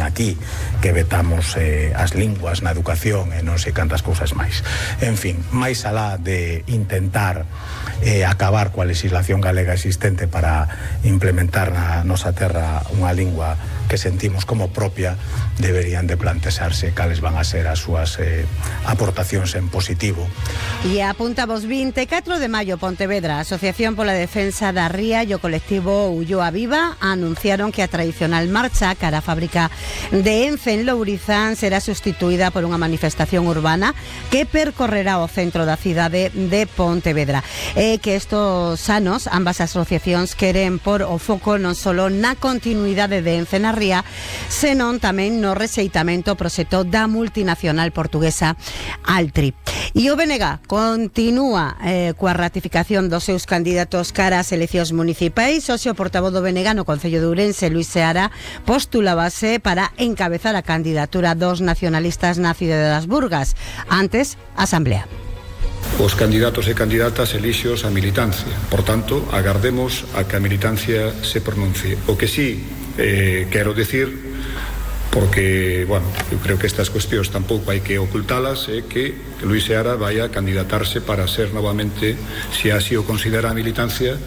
aquí que vetamos as linguas na educación e non sei cantas cousas máis. En fin, máis alá de intentar acabar coa legislación galega existente para implementar na nosa terra unha lingua que sentimos como propia, deberían de plantexarse cales van a ser as súas aportacións en positivo. E apuntamos 24 de maio, Pontevedra, a Asociación pola Defensa da Ría e o colectivo Ulloa Viva anunciaron que a tradicional marcha cara á fábrica de Ence en Lourizán será sustituída por unha manifestación urbana que percorrerá o centro da cidade de Pontevedra. Que estos anos, ambas asociacións queren por o foco non só na continuidade de Ence na Ría, senón tamén no rexeitamento ao proxecto da multinacional portuguesa Altri. E o BNG continúa coa ratificación dos seus candidatos cara ás eleccións municipais. O portavoz do BNG no Concello de Ourense, Luis Seara, postulábase para encabezar a candidatura dos nacionalistas na cidade das Burgas. Antes, a Asamblea. Os candidatos e candidatas elixios a militancia. Por tanto, agardemos a que a militancia se pronuncie. O que sí quero decir, porque, bueno, eu creo que estas cuestións tampouco hai que ocultalas, é que Luis Seara vai a candidatarse para ser novamente, se así o considera a militancia,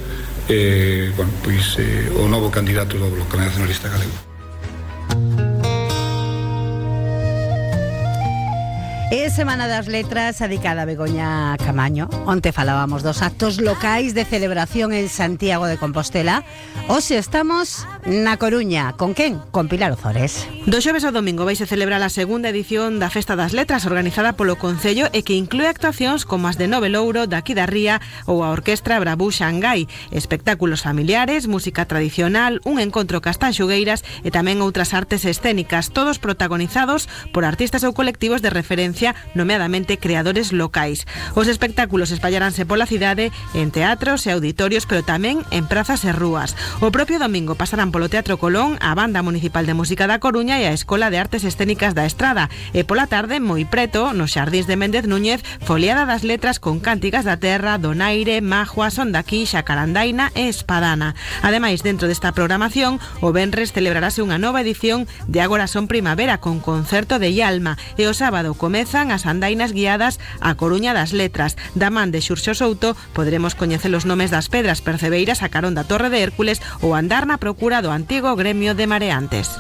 bueno, pois o novo candidato do Bloque Nacionalista Galego. É Semana das Letras dedicada a Begoña Camaño. Onte falábamos dos actos locais de celebración en Santiago de Compostela. Hoxe estamos na Coruña. Con quen? Con Pilar Ozores. Do xoves ao domingo vaise celebrar a segunda edición da Festa das Letras organizada polo Concello e que inclúe actuacións como as de Nove Louro, daqui da Ría ou a Orquestra Brabú Xangai, espectáculos familiares, música tradicional, un encontro cas tanxugueiras e tamén outras artes escénicas, todos protagonizados por artistas ou colectivos de referencia, nomeadamente creadores locais. Os espectáculos espallaránse pola cidade en teatros e auditorios, pero tamén en prazas e rúas. O propio domingo pasarán polo Teatro Colón a Banda Municipal de Música da Coruña e a Escola de Artes Escénicas da Estrada. E pola tarde, moi preto, nos Xardíns de Méndez Núñez, foliada das letras con cánticas da terra, donaire, majua, son daqui, xacarandaina e espadana. Ademais, dentro desta programación, o venres celebrarase unha nova edición de Agora son Primavera con concerto de Ialma e o sábado comezan as andainas guiadas a Coruña das Letras. Da man de Xurxo Souto poderemos coñecer os nomes das pedras percebeiras a carón da Torre de Hércules ou andar na procura do antigo gremio de mareantes.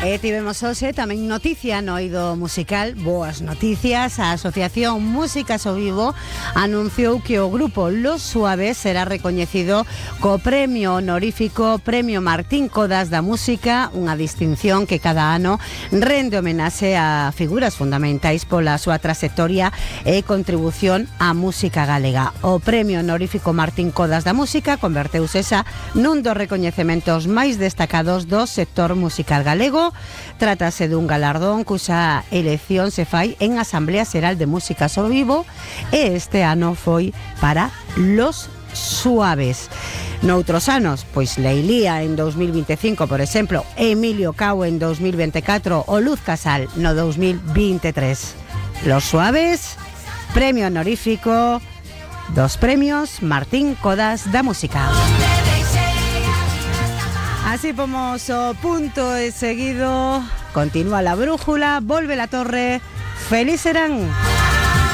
E tivemos hoxe tamén noticia no eido musical, boas noticias. A Asociación Músicas ao Vivo anunciou que o grupo Los Suaves será recoñecido co premio honorífico Premio Martín Codas da Música, unha distinción que cada ano rende homenaxe a figuras fundamentais pola súa trayectoria e contribución á música galega. O Premio honorífico Martín Codas da Música converteuse xa nun dos recoñecementos máis destacados do sector musical galego. Trátase dun galardón cuxa elección se fai en Asamblea Xeral de Músicas ao Vivo e este ano foi para Los Suaves. Noutros anos, pois Leilía en 2025, por exemplo, Emilio Cao en 2024 o Luz Casal no 2023. Los Suaves, premio honorífico dos premios Martín Codas da Música. Así pomos o punto e seguido. Continúa la brújula, volve la torre. Feliz serán.